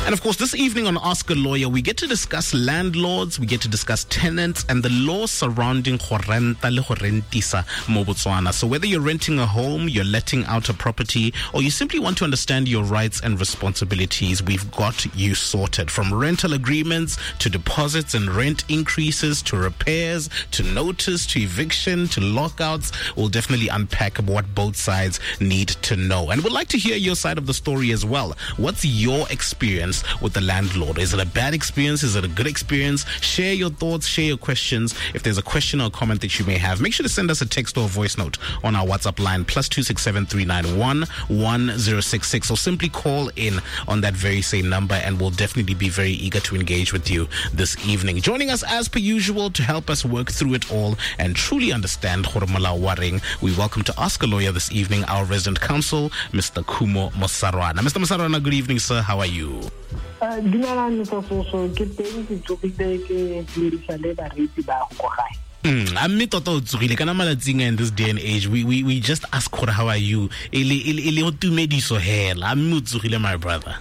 And of course, this evening on Ask a Lawyer, we get to discuss landlords, we get to discuss tenants, and the law surrounding go renta le go rentisa mo Botswana. So whether you're renting a home, you're letting out a property, or you simply want to understand your rights and responsibilities, we've got you sorted. From rental agreements to deposits and rent increases to repairs to notice to eviction to lockouts, we'll definitely unpack what both sides need to know. And we'd like to hear your side of the story as well. What's your experience with the landlord? Is it a bad experience? Is it a good experience? Share your thoughts, share your questions. If there's a question or comment that you may have, make sure to send us a text or a voice note on our WhatsApp line, +267 391 1066, or simply call in on that very same number, and we'll definitely be very eager to engage with you this evening. Joining us as per usual to help us work through it all and truly understand gore molao wa reng, we welcome to Ask a Lawyer this evening our resident counsel, Mr. Khumo Mosarwana. Mr. Mosarwana, good evening, sir. How are you? Dumelang Soso, ke teng, ke tsogile, ke dirisa le bareetsi ba go ko gae. A mme tota o tsogile kana malatsing in this day and age we just ask gore how are you e le go tumediso hela. A mme o tsogile, my brother?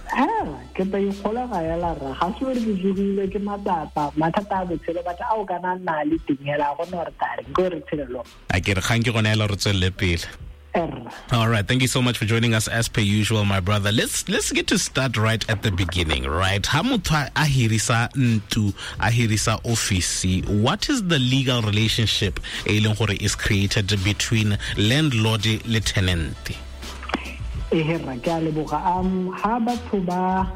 Ke ta ikgola ga ela ra ga se re ke tsogile, ke matsapa, mathata a botshelo, batho a o kana nna le teng hela go no re tare ke re tshelelo. A ke re gang ke gone hela re tswelele pele. All right, thank you so much for joining us as per usual, my brother. Let's get to start right at the beginning, right? Ha motho a hirisa ntlo, a hirisa office, what is the legal relationship e leng gore is created between landlord le tenant? Ee, ke a leboga. Ha batho ba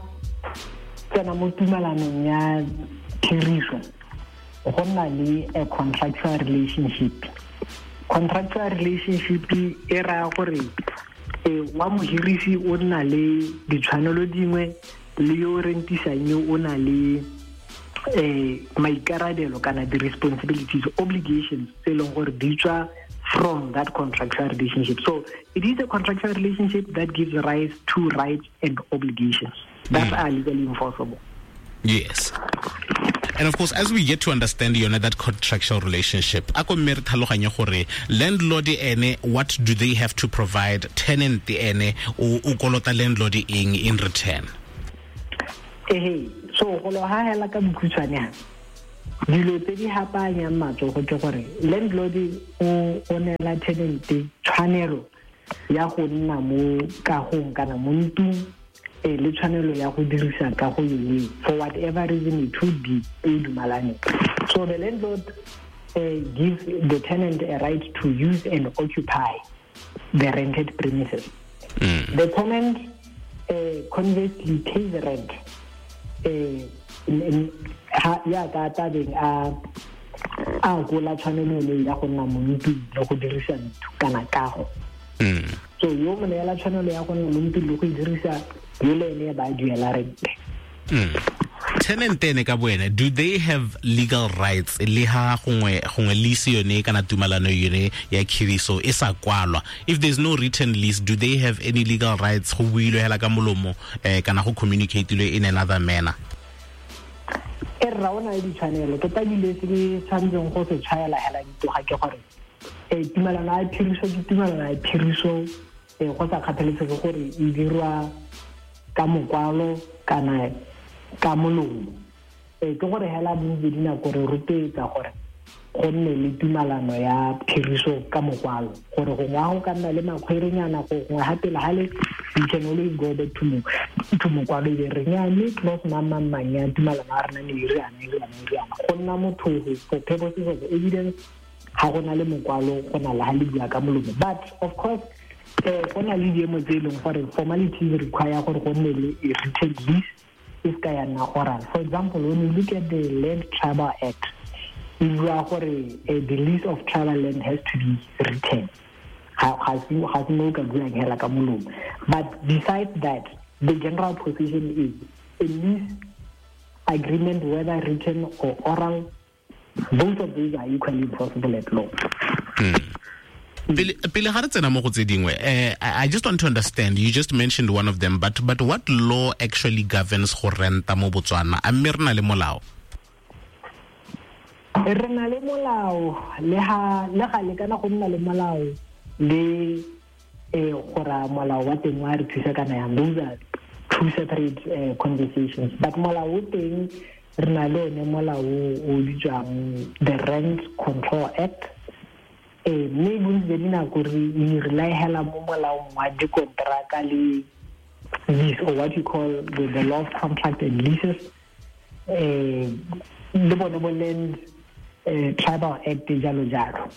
tsena mo tumalanong ya khiriso, go nna le a contractual relationship. Contractual relationship e raya gore wa mohirisi o nna le ditshwanelo dingwe le yo rentisang yo o na le maikarabelo kana di-responsibilities, obligations tse e leng gore di tswa from that contractual relationship. So it is a contractual relationship that gives rise to rights and obligations that are legally enforceable. Yes. And of course, as we get to understand yone that contractual relationship, a ko mme re tlhaloganye gore landlord ene, what do they have to provide? Tenant ene, o kolota landlord eng in return? Ehe, so go lo ha hela ka bokhutshwane ha, dilo tse di hapanyang matsogo ke gore landlord o neela tenant tshwanelo ya go nna mo kagong kana mo ntlong, le tshwanelo ya go dirisa kago yone for whatever reason it would be e dumalane. So the landlord gives the tenant a right to use and occupy the rented premises. The tenant conversely pays the rent. Ya ka tabeng a gola tshwanelo le ya go nna mo ntlong le go dirisa ntlo kana kago. So yo mo neela tshwanelo ya go nna mo ntlong le go e dirisa, yo le ene ba duela rent. Tenant ene ka boene, do they have legal rights le ha gongwe lease yone kana tumalano yone ya khiriso e sa kwalwa? If there's no written lease, do they have any legal rights go builwe hela ka molomo kana go communicate-ilwe in another manner? E rra o na le ditshwanelo. Tota dilo se ke tshwanetseng go se tshwaela hela ditoga ke gore tumalano ya phiriso ke tumalano ya phiriso, go sa kgathalesege gore e dirwa ka mokwalo kana ka molomo. Ke gore hela bontsi dinako re rotloetsa gore go nne le tumalano ya phiriso ka mokwalo, gore gongwe ga go ka nna le makgwerenyana go gongwe ga pele ga le, you can always go back to mokwalo e be re nya mme clause mang mang mang ya tumalano ya rena ne e re yana, e re yana, e re yana. Go nna motho for purposes of evidence ga go na le mokwalo, go na le ga le bua ka molomo. But of course, go na le diemo tse e leng gore formalities require gore go nne le a written lease e se ka ya nna oral. For example, when you look at the Land Tribal Act, e bua gore the lease of tribal land has to be written. Ga se mo o ka buang hela ka molomo. But besides that, the general position is a lease agreement, whether written or oral, both of these are equally enforceable at law. Pele ga re tsena mo go tse dingwe, I just want to understand, you just mentioned one of them, but what law actually governs go renta mo Botswana? A mme re na le molao? Re na le molao, le ha, le ga le kana go nna le molao le gore molao wa teng wa re thusa kana yang. Those are two separate conversations. But molao o teng, re na le one molao o bitswang the Rent Control Act. Mme bontsi jwa dinako re rely hela mo molaong wa dikonteraka le lease, or what you call the law of contract and leases, le bone bo Land Tribal Act, jalo jalo.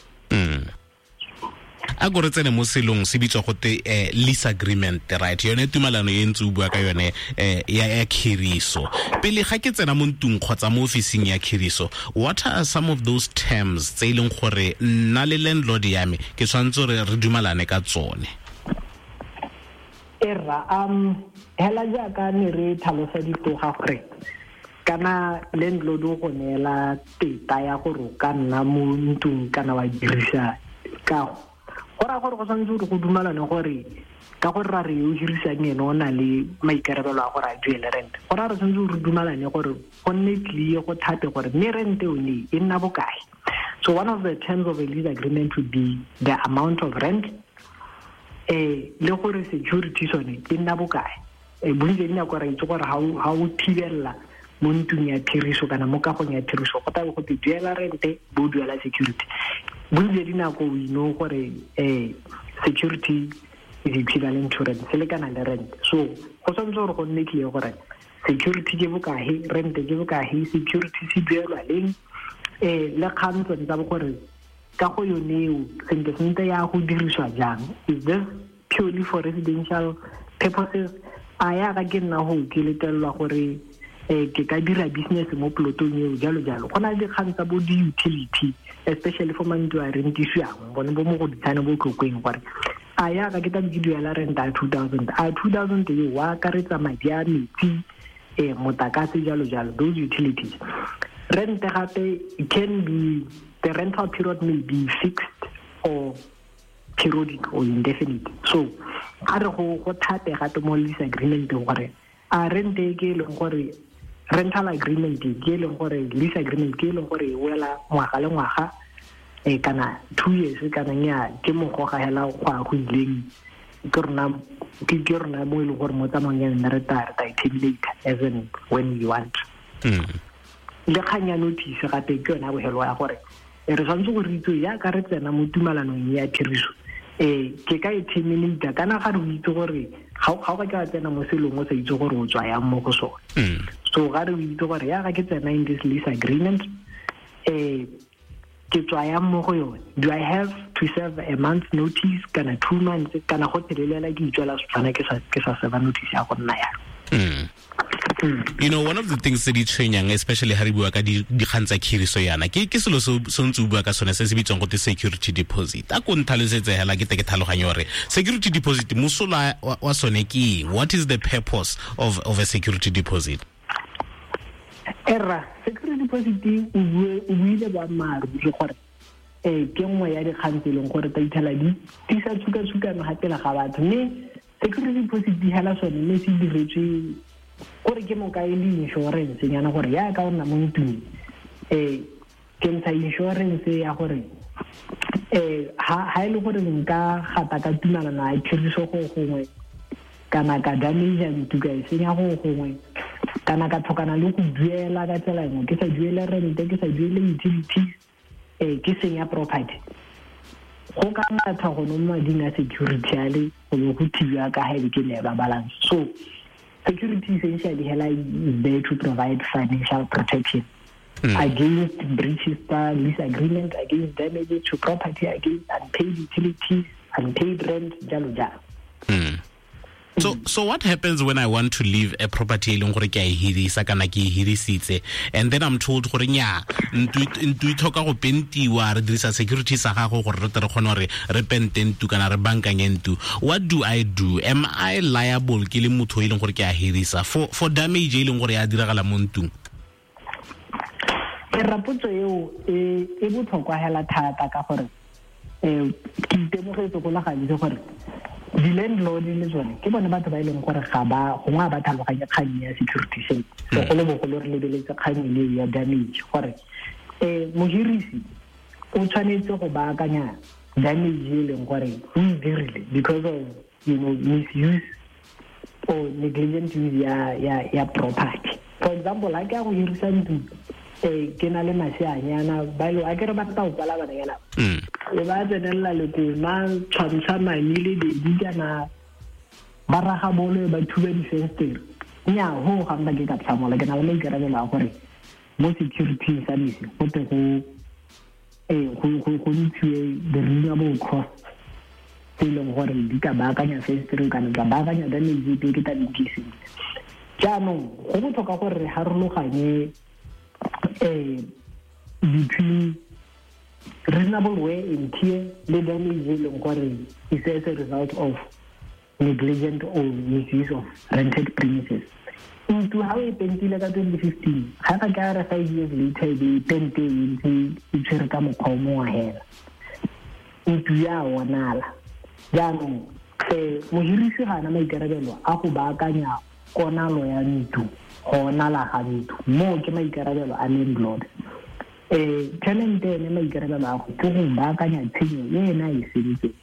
A ko re tsene mo selong se bitswa gote lease agreement, right? Yone tumalano e ntse o bua ka yone ya khiriso. Pele ga ke tsena mo ntlong kgotsa mo ofising ya khiriso, what are some of those terms tse e leng gore nna le landlord ya me ke tshwanetse re re dumalane ka tsone? Erra, hela jaaka ne re tlhalosa ditoga gore kana landlord o go neela teta ya gore o ka nna mo ntlong kana wa dirisa kago, go raya gore go tshwanetse gore go dumalane gore ka gore ra re yo hirisang ene o na le maikarabelo a gore a duele rent. Go raya re tshwanetse gore dumalane gore go nne clear, go thate gore mme rent yone e nna bokae. So one of the terms of a lease agreement would be the amount of rent, le gore security sone e nna bokae. Bontsi dinako ra itse gore ha o thibella mo ntlong ya phiriso kana mo kagong ya phiriso, go tla go te duela rente, bo duela security. Bontsi dinako we know gore security is equivalent to rent, se lekana le rent. So go tshwanetse gore go nne clear gore security ke bokae, rent ke bokae, security se duelwa leng, le kgang tsone tsa gore ka go yone eo sentle sentle ya go diriswa jang. Is this purely for residential purposes? A ya ga ke nna go ke letelelwa gore ke ka dira business mo plotong eo, jalo jalo. Go na le dikgang tsa bo di-utility, especially for mantlo a rentisiwang, bone bo mo go ditshane bo Tlokweng, gore a ya ga ke tla ke duela rent a 2000, a 2000 eo wa akaretsa madi a metsi, motlakase, jalo jalo, those utilities. Rent gape can be, the rental period may be fixed or periodic or indefinite. So a re go thate gape mo lease agreement gore a rent e ke e leng gore rental agreement ke e leng gore lease agreement ke e leng gore e wela ngwaga le ngwaga, kana 2 years, kana nya ke mogoga hela go a go ileng, ke rona mo e leng gore mo tsamaong ya nna re ta terminate as and when we want. Le kgang ya notice gape ke yone ya bogelo ya gore re tshwanetse go re itse jaaka re tsena mo tumalanong ya phiriso, ke ka e terminate kana ga re itse gore ga o ka ke wa tsena mo selong o sa itse gore o tswa yang mo go sone. So ga re itse gore ya ga ke tsena in this lease agreement, ke tswa yang mo go yone. Do I have to serve a month's notice kana 2 months, kana go telelela ke itswela Setswana ke sa serve notice ya go nna yalo. You know, one of the things tse di tshwenyang, especially ha re bua ka dikgang tsa khiriso yana, ke selo se ntse o bua ka sone se se bitswang gote security deposit. A ko ntlhalosetse hela ke te ke tlhaloganye gore security deposit mosola wa sone ke eng? What is the purpose of a security deposit? Erra, security deposit o buile boammaaruri gore ke nngwe ya dikgang tse e leng gore tsa itlhela di tisa tshukatshukano ga pele ga batho, mme security deposit di hela sone mme se diretswe gore ke moka e le insurance nyana gore ya ka o nna mo ntlong, ke ntsha insurance ya gore ha e le gore nka gata ka tumalano ya phiriso go gongwe, kana ka damage ntlo ka e senya go gongwe, kana ka tlhokana le go duela ka tsela nngwe, ke sa duele rent, ke sa duele utilities, ke senya property, go ka ngatha go no mading a security a le go be go thibiwa ka ha e be ke leba balance. So security essentially hela is there to provide financial protection against breaches tsa lease agreement, against damages to property, against unpaid utilities, unpaid rent, jalo jalo. So what happens when I want to leave a property e leng gore ke a e hirisa kana ke e hirisitse, and then I'm told gore nya ntlo e tlhoka go pentiwa, re dirisa security sa gago gore re tle re kgone gore re pente ntlo kana re bankanye ntlo? What do I do? Am I liable ke le motho e leng gore ke a hirisa for damage e leng gore ya diragala mo ntlong? Rapotso eo e botlhokwa hela thata ka gore ke itemogetse go le gantsi gore di-landlord le tsone ke bone batho ba e leng gore ga ba gongwe ba tlhaloganye kgang ya security sentle, segolobogolo re lebeletse kgang eo ya damage gore mohirisi o tshwanetse go baakanya damage e leng gore o e dirile because of, you know, misuse Or negligent use ya property. For example, ha ke ya go hirisa ntlo, ke na le maseanyana ba ile a ke re ba tla o kwala bananyana. E ba tsenella le koma tshwantsha mami le baby kana ba raga bolo ba thuba difenstere. Nya ho ga nna ke ka tlhamola ke na le maikarabelo a gore mo security service go tle go go ntshiwe the reasonable cost tse e leng gore di ka baakanya fenstere kana ka baakanya damage epe ke tla di sentle. Jaanong go botlhokwa gore re harologanye between reasonable wear and tear le damage e leng gore is as a result of negligent or misuse of rented premises. Ntlo ha o e pentile ka 2015, ga ka ka re 5 years later e be pente e ntse e tshwere ka mokgwa o mongwe hela. Ntlo ya onala. Jaanong mohirisi ga ana maikarabelo a go baakanya konalo ya ntlo, go onala ga ntlo. Moo ke maikarabelo a landlord. Tenant ene maikarabelo a go ke go baakanya tshenyo e ena a e sentseng.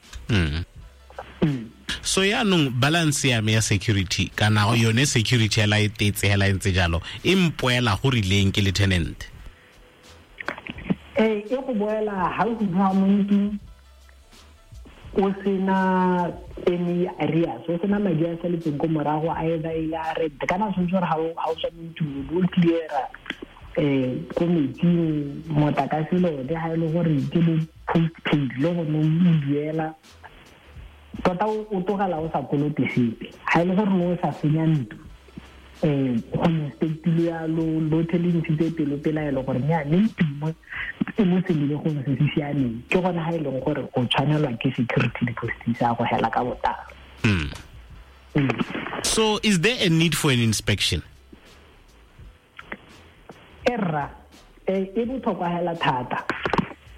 So yaanong balance ya me ya security kana yone security hela e tetse hela e ntse jalo e mpoela go rileng ke le tenant. E go boela ha o bua mo ntlong o sena any areas, o sena madi a saletseng ko morago a either e le a rent kana tshwanetse gore ha o tswa mo ntlong o cleara ko metsing motlakase le one ha e le gore ke bo postpaid le gone o duela tota o tlogela o sa kolote sepe. Ha e le gore o sa senya ntlo go inspectile yalo lothe le ntshitse pelo pelaelo gore nya ne ntlo e mo selebegong se se siameng, ke gone ha e leng gore o tshwanelwa ke security deposit sa go hela ka botlalo. So is there a need for an inspection? Erra e botlhokwa hela thata.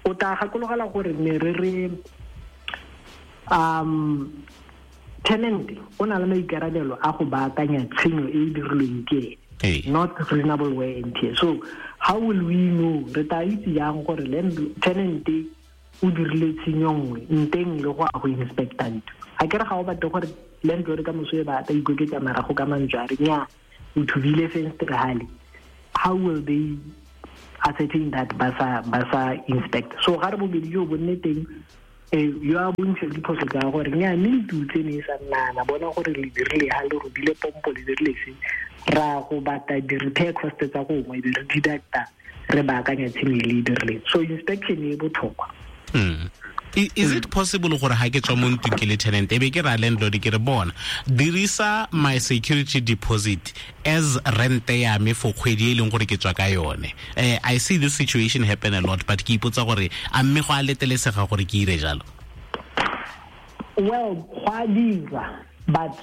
O tla gakologela gore ne re re tenant o na le maikarabelo a go baakanya tshenyo e e dirilweng ke ene, not reasonable wear and tear. So how will we know, re tla itse jang gore tenant o dirile tshenyo nngwe nteng le go a go inspecta ntlo? A ke re ga o batle gore landlord ka moso e ba ta ikoketsa marago ka mantswe a re nya o thubile fenstere hale. How will they ascertain that ba sa inspect? So ga re bobedi jo bo nne teng yo a bontshe diphoso tsa gore nya mme ntlo tse ne e sa nnana bona gore le dirile ha le robile pompo le dirile se ra go batla di-repair cost tsa gongwe e be re deducta re baakanya tshenyo e le e dirileng. So inspection e botlhokwa. Is it possible gore ha ke tswa mo ntlong ke le tenant e be ke ra landlord ke re bona dirisa my security deposit as rent ya me for kgwedi e leng gore ke tswa ka yone? I see this situation happen a lot, but ke ipotsa gore a mme go a letelesega gore ke ire jalo? Well, go a dira, but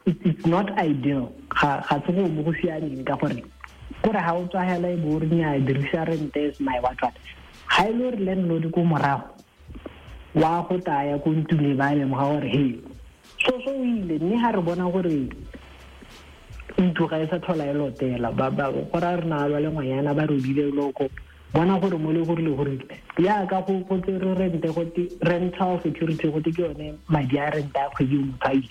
it's not ideal. Ga se go mo go siameng ka gore ha o tswa hela e bo re nya dirisa rent as my what what. Ha e le gore landlord ko morago wa go taya ko ntlong ba lemoga gore he so o ile mme ha re bona gore ntlo ga e sa tlhola e lotela ba go ra re na ba le ngwanyana ba robile loko bona gore mo le gore le gore ya ka go tsere rente go te rental security go te ke yone madi a rent a kgwedi motho a ile.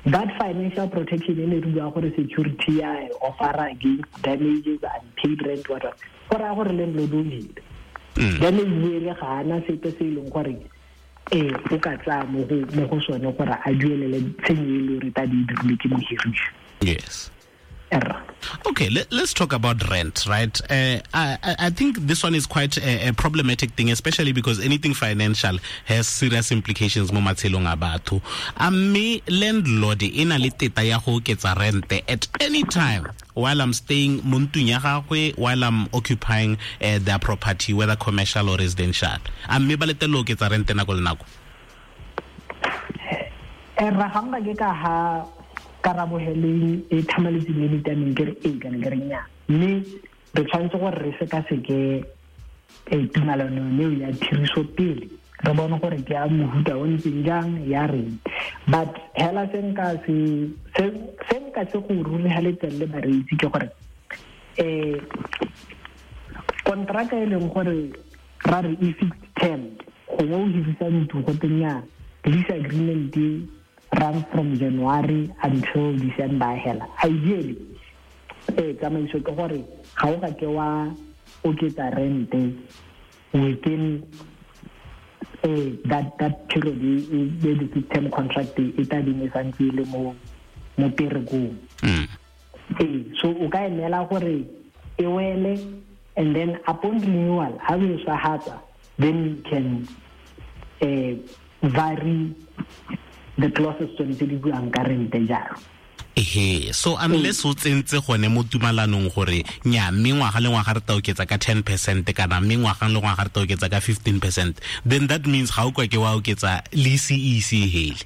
That financial protection e ne re bua gore security ya offera against damages and paid rent what go raya gore landlord o ile damage ele ga ana sepe se e leng gore o ka tsaya mo go sone gore a duelele tshenyo e le gore ta di dirile ke mohirisi. Yes. Okay, let's talk about rent, right? I think this one is quite a problematic thing, especially because anything financial has serious implications mo matshelong a batho. A mme landlord e na le teta ya go oketsa rent at any time while I'm staying mo ntlong ya gagwe, while I'm occupying their property, whether commercial or residential. A mme ba letela go oketsa rent nako le nako? Ra ga nka ke ka ha karabogeleng e thamaletseng le ditameng ke re ee kana ke re nnyaa, mme re tshwanetse gore re sekaseke tumalano eo ya tiriso pele re bone gore ke ya mohuta o ntseng jang ya reng. But hela se nka se go rurigaletseng le bareetsi ke gore kontraka e leng gore ra re e fixed term, gongwe o hirisa ntlo go teng ya lease agreement runs from January until December hela. Ideally, tsamaiso ke gore ga o ka ke wa oketsa rente within that period e the term contract e tla beng e santse e le mo perekong. So o ka emela gore e wele, and then upon renewal ha o e swahatsa, then you can vary the clauses tsone tse di buang ka rente jalo. Ehe, so unless o tsentse gone mo tumalanong gore nya mme ngwaga le ngwaga re tla oketsa ka 10% kana mme ngwaga le ngwaga re tla oketsa ka 15%, then that means ga o kwa ke wa oketsa le CEC hele.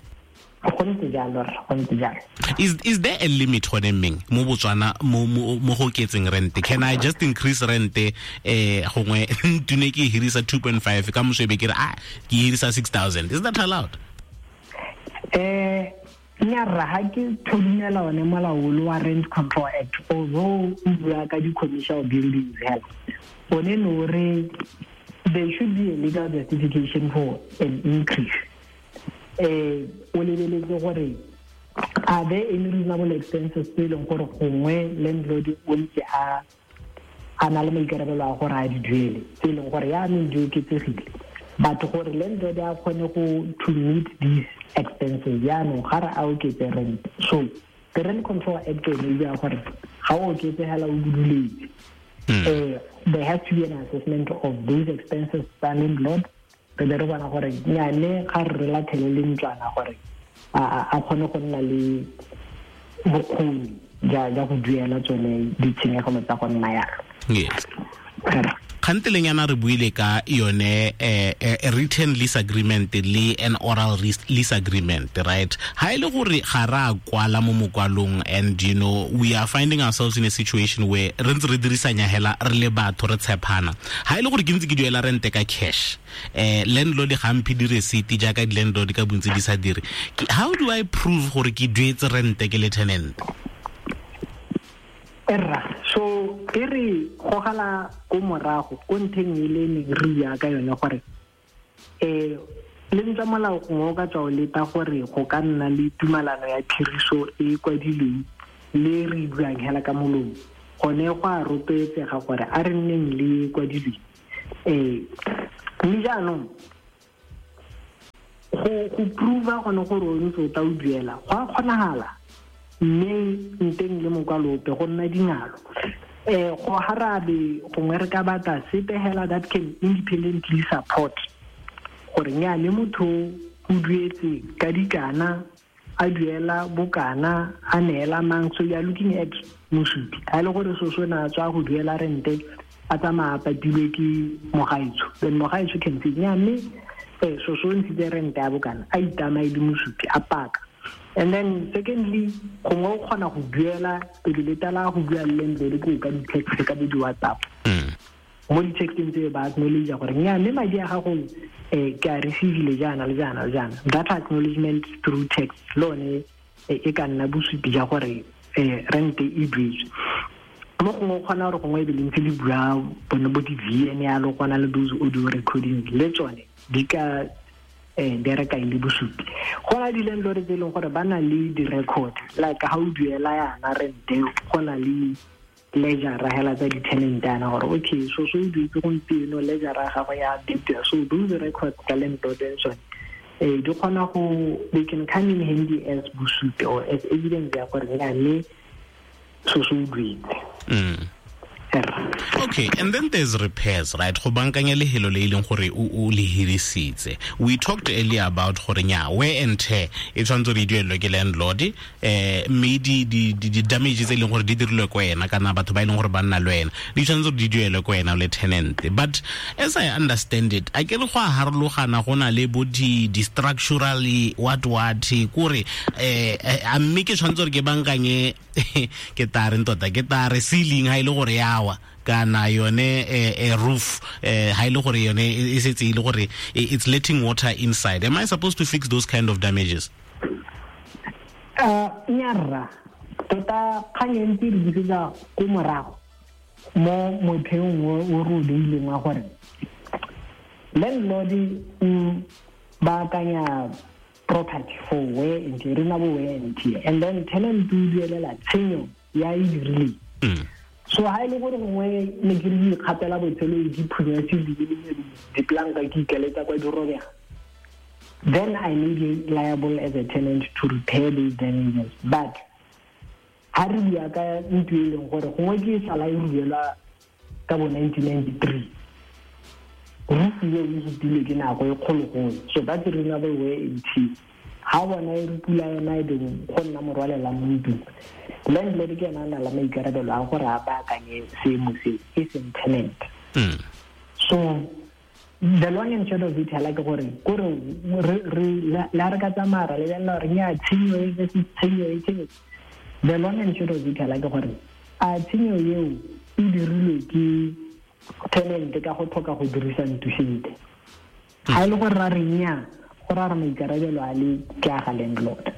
Go ntse jalo, go ntse jalo. Is there a limit gone mmeng mo Botswana mo go oketseng rent? Can I just increase rent gongwe ntune ke hirisa 2.5 ka moso be ke re ke hirisa 6,000? Is that allowed? Nyarra ha ke thodumela one molao wa Rent Control Act, although o bua ka di-commercial buildings hela, one no re there should be a legal justification for an increase. O lebeletse gore are there any reasonable expenses tse e leng gore gongwe landlord o ntse a na le maikarabelo a gore a di duele, tse e leng gore yaanong di oketsegile, but gore landlord a kgone go to meet these expenses yaanong ga re a oketse rent. So the Rent Control Act yone e bua gore ga o oketse hela o buduletse, there has to be an assessment of those expenses tsa landlord, re be re bona gore nyane ga re lathele le ntlwana gore a kgone go nna le bokgoni ja go duela tsone ditshenyegelo tsa go nna yalo. Yes. Kganteleng yana re buile ka yone a written lease agreement le an oral lease agreement, right? Ha ile gore ga ra kwala mo mokwalong, and you know we are finding ourselves in a situation where re ntse re dirisanya hela re le batho re tshepana. Ha ile gore ke ntse ke duela rente ka cash, landlord ga mphe di receipt jaaka di landlord ka bontsi di sa dire. How do I prove gore ke duetse rente ke le tenant? Erra, so e re gogela ko morago ko ntheng e le neng re bua ka yone gore le ntse molao gongwe o ka tswa o leta gore go ka nna le tumalano ya phiriso e kwadilweng le re buang hela ka molomo, gone go a rotloetsega gore a re nneng le kwadilweng. Mme jaanong go prova gone gore o ntse o tla o duela go a kgonagala, mme nteng le mokwalo ope go nna dingalo. Go harabe gongwe re ka batla sepe hela that can independently support gore nyane motho o duetse ka dikana, a duela bokana, a neela mang. So you are looking at mosupi a le gore so na tswa go duela rente a tsamaya a patilwe ke mogaetsho, then mogaetsho can say nya mme so ntshitse rente ya bokana, a itamae le mosupi a paka. And then secondly, gongwe o kgona go duela pele le tala go bua le landlord ko ka di-text ka bo di-WhatsApp. Mo di-texteng tse ba acknowledge gore nya mme madi a gago ke a receivile jaana le jaana le jaana. That acknowledgement through text le one e ka nna bosupi ja gore rente e duetswe. Mo gongwe o kgona gore gongwe e be le ntse le bua bone bo di-VN yalo, go na le those audio recordings le tsone di ka bereka e le bosupi. Go na di-landlord tse e leng gore ba na le di-record, like ha o duela yana rente go na le ledger hela tsa di-tenant yana gore okay so o duetse gompieno, ledger ya gago ya update. So those records tsa landlord and tsone di kgona go, they can come in handy as bosupi or as evidence ya gore mme so o duetse. Okay, and then there's repairs, right? Go bankanya lehelo le ileng gore o le hirisitse. We talked earlier about gore nya wear and tear e tshwanetse re duelwe ke landlord, mme di damages e leng gore di dirilwe ko wena kana batho ba e leng gore ba nna le wena di tshwanetse di duelwe ko wena le tenant. But as I understand it, a ke re go a harologana go na le bo di structurally what kore a mme ke tshwanetse gore ke bankanye ke tare tota ke tare ceiling ha ile gore yawa kana yone roof ha ile gore yone e setse ile gore it's letting water inside. Am I supposed to fix those kind of damages? Nyarra tota kgang e ntse re busetsa ko morago mo motheong o re o beileng wa gore landlord o baakanya Property for wear and tear, reasonable wear and tear, and then tenant o duelela tshenyo ya e dirileng. So ha e le gore gongwe ne ke re ke ikgapela botshelo e ke phunya se diplanka ke ikeletsa kwa di robega, then I may be liable as a tenant to repair those damages. But ha re bua ka ntlo e leng gore gongwe ke sala e ruelwa ka bo 1993, roof eo e fetilwe ke nako e kgologolo, so that's reasonable wear and tear. Ha o bona e re pula yona e beng go nna morwalela mo ntlong, landlord ke ena a na le maikarabelo a gore a baakanye seemo seo, e seng tenant. So the long and short of it hela ke gore kore re la re ka tsamaya ra lebelela gore nya tshenyo e versus tshenyo e tshenyo. The long and short of it hela ke gore a tshenyo eo e dirilwe ke tenant ka go tlhoka go dirisa ntlo sentle. Ga e le gore ra re nya, go ra re maikarabelo a le ke a ga landlord.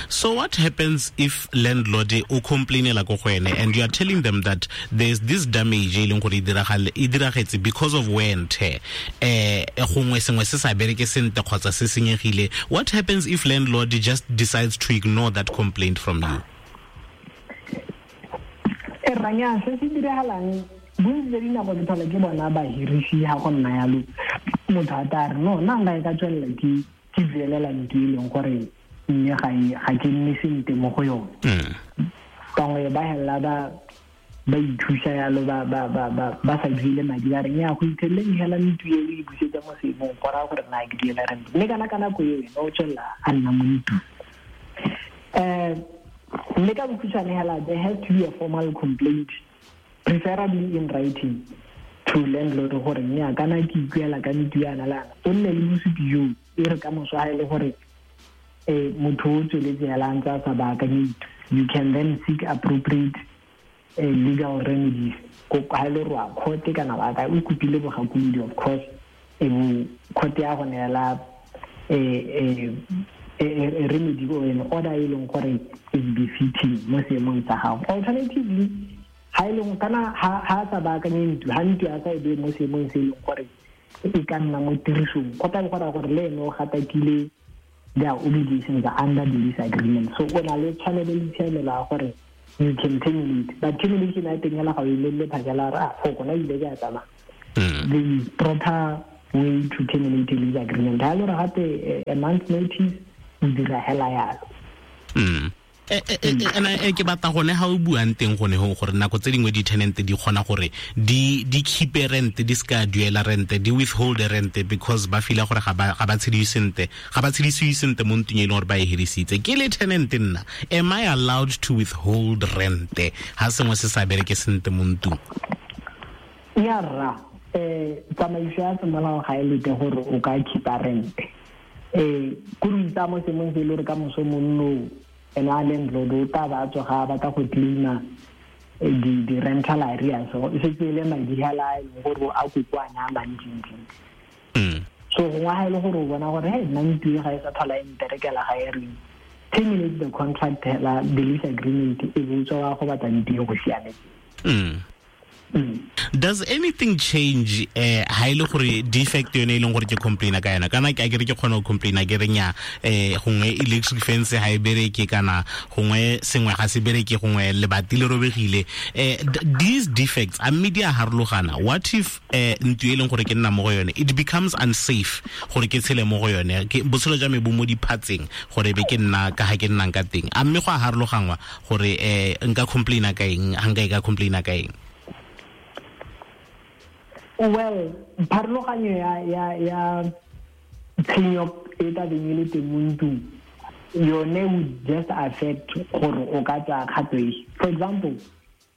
So what happens if landlord o complainela ko go ene and you are telling them that there's this damage e leng gore e diragetse because of wear and tear, gongwe sengwe se sa bereke sentle kgotsa se senyegile? What happens if landlord just decides to ignore that complaint from you? E ranya se se diragalang bontsi jwa dinako ke tlhola ke bona bahirisi ha go nna yalo, motho a tla re no, nna nka e ka tswelela ke duelela ntlo e leng gore mme ga ke nne sentle mo go yone. Bangwe ba hela ba ithusa yalo, ba sa duele madi, ba re nya go itheleng hela ntlo e o e busetsa mo seemong, go raya gore nna ke duela rent. Mme kana ka nako eo ene o tswelela a nna mo ntlong. Mme ka bokhutshwane hela, there has to be a formal complaint, preferably in writing, to landlord gore nya kana ke ikuela ka ntlo yana le yana. O nne le bosupi joo, e re ka moso ha e le gore motho o tsweletse hela a ntse a sa baakanye ntlo, you can then seek appropriate legal remedies. Ko ha e le gore wa court kana wa kae, o kopile bogakolodi, of course, e bo court ya go neela remedy or an order e leng gore is befitting mo seemong sa gago. Alternatively, ha e leng kana ha a sa baakanye ntlo, ha ntlo a sa e beye mo seemong se e leng gore e ka nna mo tirisong, go tla bo go raya gore le ene o gatakile their obligations under the lease agreement. So o na le tshwanelo le tshiamelo ya gore you can terminate, but termination ya teng hela ga o e lelle phakela re, ah, foko na ile ke a tsamaya. The proper way to terminate a lease agreement, ha e le gore gape a month notice, o dira hela yalo. Ena ke batla gone ha o buang teng gone ho gore nako tse dingwe di-tenant di kgona gore di keep rent, di ska duela rent, di withhold rent because ba feel gore ga ba tshediwe sentle, ga ba tshedisiwe sentle mo ntlong e leng gore ba e hirisitse. Ke le tenant nna, am I allowed to withhold rent ha sengwe se sa bereke sentle mo ntlong? Ya rra, tsamaiso ya semolao ga e lete gore o ka keep-a rent. Ko re itsa mo seemong se e le gore ka moso monno ene a landlord o tla ba tswa ga a batla go claim-a di rental areas, so e setse e le madi hela a e leng gore a kokoanya a mantsi-ntsi. So gongwe ha e le gore o bona gore, hey, nna ntlo e ga e sa tlhola e mperekela ga e reng, terminate the contract hela, the lease agreement, e bo tswa wa go batla ntlo e go siametse. Does anything change ha e le gore defect yone e leng gore ke complaina ka yona, kana ke a kere ke kgona go complaina ke re nya, gongwe electric fence ha e bereke, kana gongwe sengwe ga se bereke, gongwe lebati le robegile, these defects a mme di a harologana? What if ntlo e leng gore ke nna mo go yone it becomes unsafe gore ke tshele mo go yone, ke botshelo jwa me bo mo diphatseng gore be ke nna ka ha ke nnang ka teng, a mme go a harologangwa gore nka complaina ka eng, ha nka e ka complaina ka eng? Well, pharologanyo ya tshenyo e tla beng e le teng mo ntlong yone would just affect gore o ka tsaya kgato e. For example,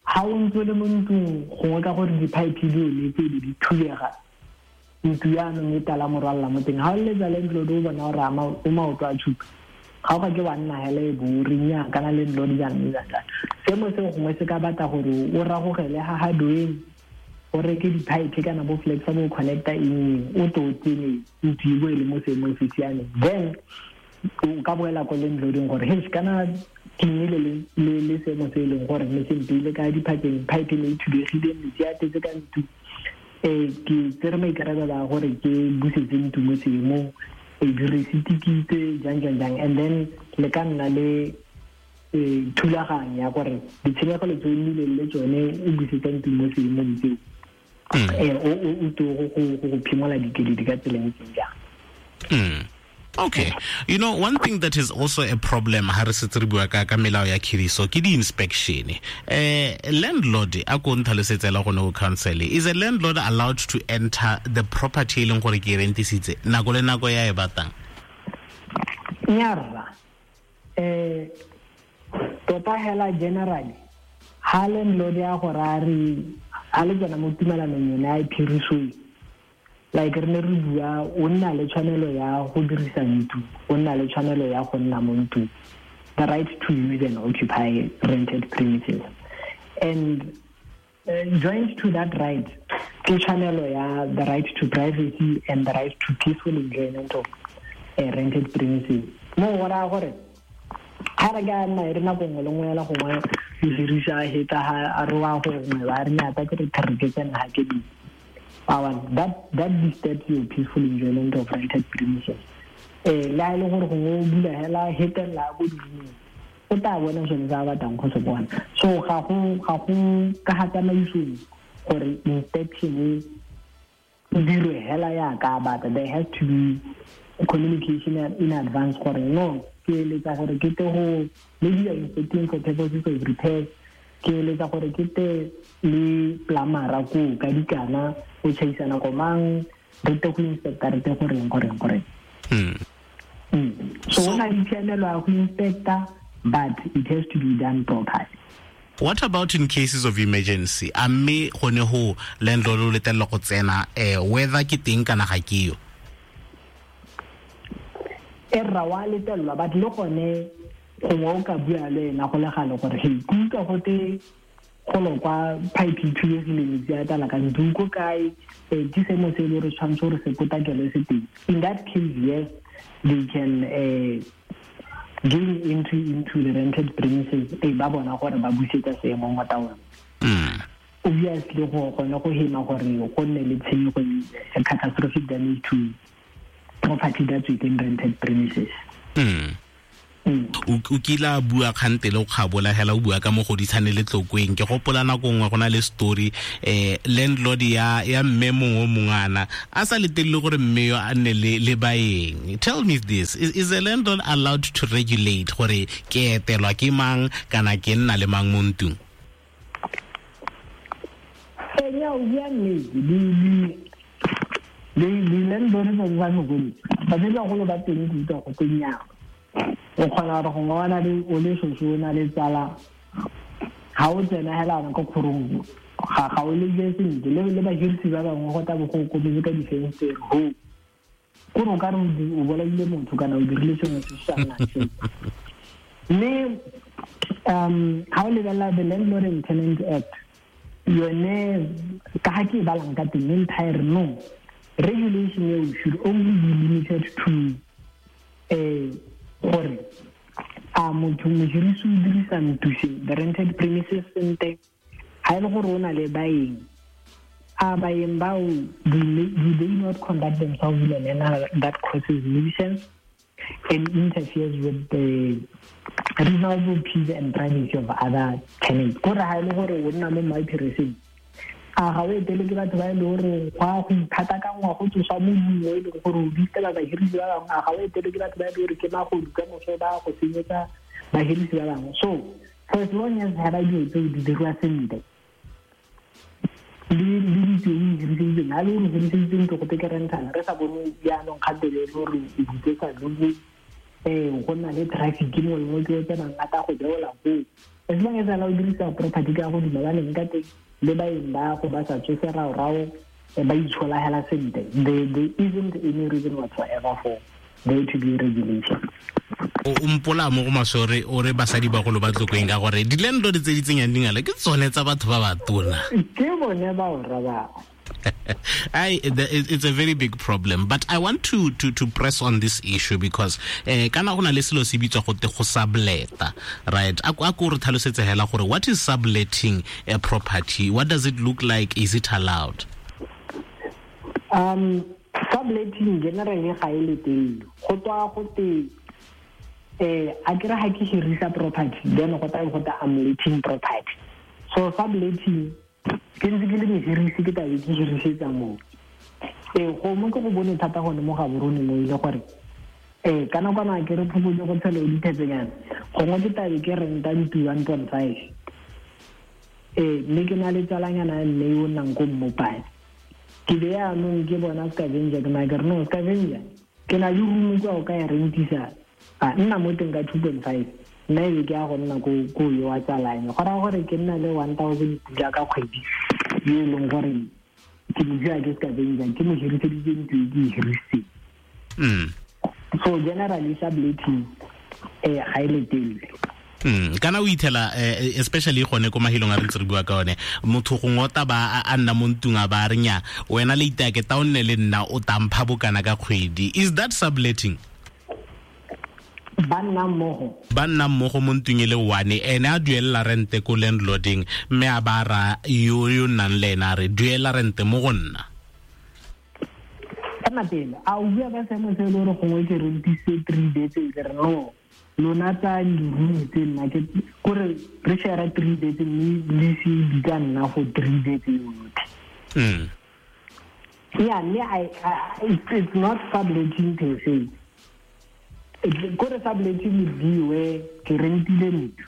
ha o ntse o le mo ntlong gongwe ka gore di-pipe di onetse di di thubega, ntlo yaanong e tala morwalela mo teng, ha o letsa landlord o bona gore o maoto a tshupa, ga o ka ke wa nna hela e bo o re nnyaa, kana landlord jaanong e jang jang. Seemo seo gongwe se ka batla gore o ragogele ha ha doeng, o reke di-pipe kana bo flexa bo connecta eng, o to o tsene ntlo e bo e le mo seemong se siameng. Then o ka boela ko landlording gore, hey, kana ke nnile le seemo se e leng gore ne se mpeile ka diphatseng, pipe ne e thubegile, metsi a tletse ka ntlo, ke tsere maikarabelo a gore ke busetse ntlo mo seemong, Direceipt ke jang jang jang, and then le ka nna le thulaganyo ya gore ditshenyegelo tse o nnileng le tsone o busetsa ntlo mo seemong tseo, o to go phimola dikeledi ka tsela e ntseng jang. Okay. One thing that is also a problem ha re setse re bua ka melao ya khiriso ke di-inspection. Landlord a ko ntlhalosetse la gone go council, is a landlord allowed to enter the property e leng gore ke e rentisitse nako le nako ya e batlang? Nyarra. Tota hela generally ha landlord ya gore a re ha le tsena mo tumalanong yone ya phiriso, like re ne re bua, o nna le tshwanelo ya go dirisa ntlo, o nna le tshwanelo ya go nna mo ntlong, the right to use and occupy rented premises, and joined to that right ke tshwanelo ya the right to privacy and the right to peaceful enjoyment of rented premises. Mo go raya gore ga re ka nna e re nako nngwe le nngwe ela gongwe o dirisa heta ha a re wa gongwe ba re nyata ke re thare ke tsena ha ke di. That disturbs your peaceful enjoyment of rented premises. Le ha e le gore gongwe o bula hela hetella ko di-roomong, o tla bona sone se a batlang go se bona. So ga go ka ga tsamaisong gore inspection e dirwe hela yaka a batla. There has to be communication in advance gore no, ke eletsa gore ke te go maybe you are inspecting for purposes of repairs, ke eletsa gore ke te le plumber ko ka dikana o tshaisana ko mang, re te go inspector, re te go reng, go reng, go reng. So o na le tshiamelo ya go inspector, but it has to be done properly. What about in cases of emergency? A mme gone ho landlord o letella go tsena, whether ke teng kana ga ke yo? E rra wa letellwa, but le gone gongwe o ka bua le ena go le gale gore hey, ke utlwa gote golo kwa pipe e thubegile, metsi a tlala ka ntlo, ko kae, ke seemo se e le gore tshwanetse gore se potakelwe se teng. In that case, yes, they can gain entry into the rented premises, ba bona gore ba busetsa seemo mo taolong. Obviously, go gone go hema gore go nne le tshenyego, catastrophic damage to property that's within rented premises. O kila bua kgante le o kgabola hela o bua ka mogoditshane le Tlokweng. Ke gopola nako nngwe go na le story, landlord ya mme mongwe o mongwana a sa letelele gore mme yo a nne le baeng. Tell me this, is a landlord allowed to regulate gore ke etelwa ke mang kana ke nna le mang mo ntlong? Nya o bua nnete, di landlord tsa ba mogolo, ba tsebe bagolo ba teng ke utlwa go teng yang. O kgona gore gongwe o na le, o le shosho, o na le tsala, ga o tsena hela ko kgorong, ga o le je sentle, le bahirisi ba bangwe go tla bo go kometse ka difenstere, ho. Kore o ka re o bolaile motho kana o dirile sengwe se se sa nnang sentle. Mme, ga o lebelela the Landlord and Tenant Act, yone ka ga ke e balang ka teng, entire no, regulation eo should only be limited to, gore a motho mohirisi o dirisa ntlo se, the rented premises sentle, ha e le gore o na le baeng, a baeng bao, do they not conduct themselves in a manner that causes nuisance and interferes with the reasonable peace and privacy of other tenants? Kore ha e le gore o nna mo maipireseng, a ga o etele ke batho ba e le gore go a go ithata ka ngwa go tsosa modumo e leng gore o bitela bahirisi ba bangwe, a ga o etele ke batho ba e le gore ke magodu ka moso ba go senyetsa bahirisi ba bangwe. So for as long as ha ba dilo tseo di dirwa sentle, le ditso e hiriseditseng, ha le gore hiriseditseng ntlo go teke rentana, re sa bone jaanong kgantele e le gore o butsetsa lone, go nna le traffic mo le mo ke o tsenang a tla go beola koo. As long as a o dirisa property ka go dumalaneng ka teng, le baeng ba go ba sa tsose rao-rao, ba itshola hela sentle, there isn't any reason whatsoever for there to be regulation. O mpola mo go maswe o re basadi bagolo ba Tlokweng ka gore di-landlord tse di tsenyang dingala ke tsone tsa batho ba ba tona. Ke bone ba o rabang. It's a very big problem, but I want to press on this issue because kana go na le selo se bitswa gote go subleta, right? A ko re tlhalosetse hela gore what is subletting a property? What does it look like? Is it allowed? Subletting generally ga e letelele. Go tswa go te a kere ga ke hirisa property, then go tla go ta I'm letting property. So subletting ke ntse ke le mohirisi, ke tlabe ke hirisetsa moo. Go mo ke go bone thata gone mo Gaborone mo ile gore ka nakwana ke re phokotse go tshelo dithetsenyana, gongwe ke tlabe ke renta ntlo 1.5, mme ke na le tsalanyana ya mme yo o nnang ko Mmopane. Ke be yaanong ke bona scavenger, ke na ke re no scavenger, ke na le room kwa o ka e rentisa, a nna mo teng ka 2.5, nna e be ke ya go nna ko yo wa tsalanya. Go raya gore ke nna le 1,000 pula ka kgwedi yo e leng gore ke mo dira ke scavenger, ke mo hiriseditse ntlo e ke e hirisitseng. So generally subletting ga e letelele. Kana o ithela especially gone ko mahelong a re ntse re bua ka one, motho gongwe o ta ba a nna mo ntlong a ba re nya wena le itake ta o nne le nna o tampha bokana ka kgwedi. Is that subletting? Ba nna mmogo. Ba nna mmogo mo ntlong e le one, ene a duelela rente ko landlording, mme a ba ra yo yo nnang le ena a re duela rente mo go nna. Ema pele, a o bua ka seemo se e le gore gongwe ke rentise 3 beds, ke re no, lona tsa di-room tse nna ke kore re share 3 beds mme le se di ka nna for 3 beds yotlhe. Yeah, mme it's not subletting per se. Kore subletting would be where ke rentile ntlo,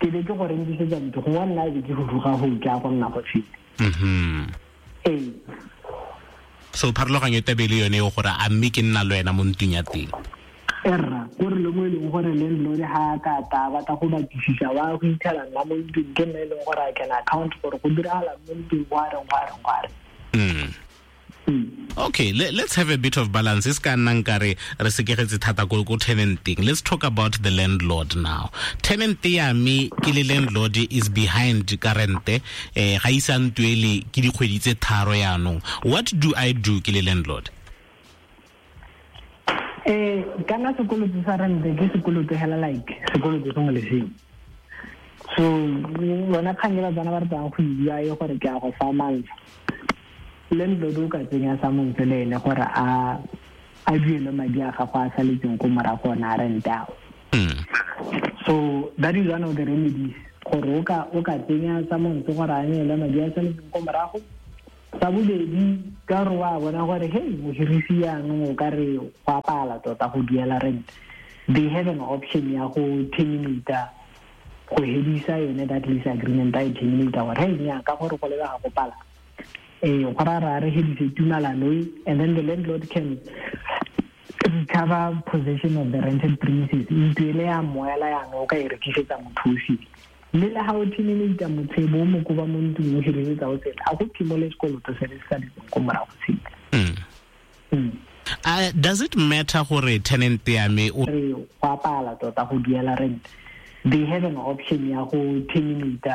ke be ke go rentisetsa ntlo, gongwe nna e be ke huduga go tla go nna go feta. So pharologanyo e tabe le yone e gore a mme ke nna le wena mo ntlong ya teng. Erra, kore le mo e leng gore landlord ha ka ta batla go batlisisa wa go ithela nna mo ntlong, ke nna e leng gore I can account gore go diragala mo ntlong, gwa reng, gwa reng, gwa reng. Okay, let's have a bit of balance. E se ka nna nkare re sekegetse thata ko tenanteng. Let's talk about the landlord now. Tenant ya me ke le landlord is behind ka rente, ga isa ntuele ke dikgwedi tse 3 yaanong. What do I do ke le landlord? Kana sekoloto sa rente ke sekoloto hela like sekoloto sengwe le sengwe. So bona kgang e ba tswana ba re tsang go e bua e gore ke a go fa mantsha. Landlord o ka tsenya sa montshe le ene gore a duele madi a gago a saletseng ko morago ona a rente ao. So that is one of the remedies, gore o ka tsenya sa montshe gore a neele madi a saletseng ko morago. Sa bobedi, ka gore wa bona gore hey, mohirisi yaanong o ka re go apala tota go duela rent, they have an option ya go terminate, go hedisa yone that lease agreement, a e terminate gore hey, nnyaa, ka gore go lebega go pala, go ra re hedise tumalano e, and then the landlord can recover possession of the rented premises. Ntlo ele ya moela yaanong o ka e rekisetsa motho o sele. Mme le ha o terminate motho e bo o mo koba mo ntlong o hirisetsa o sele, a go phimole sekoloto se le se saletseng ko morago sele. Does it matter gore tenant ya me o re go apala tota go duela rent, they have an option ya go terminate,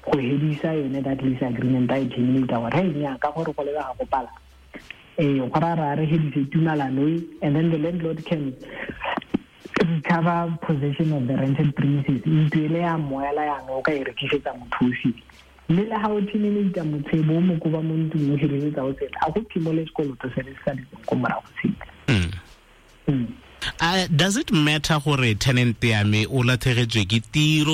go hedisa yone that lease agreement, a e terminate gore hey, nnyaa, ka gore go lebega go pala, go ra re hedise tumalano e, and then the landlord can recover possession of the rented premises. Ntlo ele ya moela yaanong o ka e rekisetsa motho o sele. Mme le ha o terminate motho e bo o mo koba mo ntlong o hirisetsa o sele, a go phimole sekoloto se le se saletseng ko morago sele. Does it matter gore tenant ya me o latlhegetswe ke tiro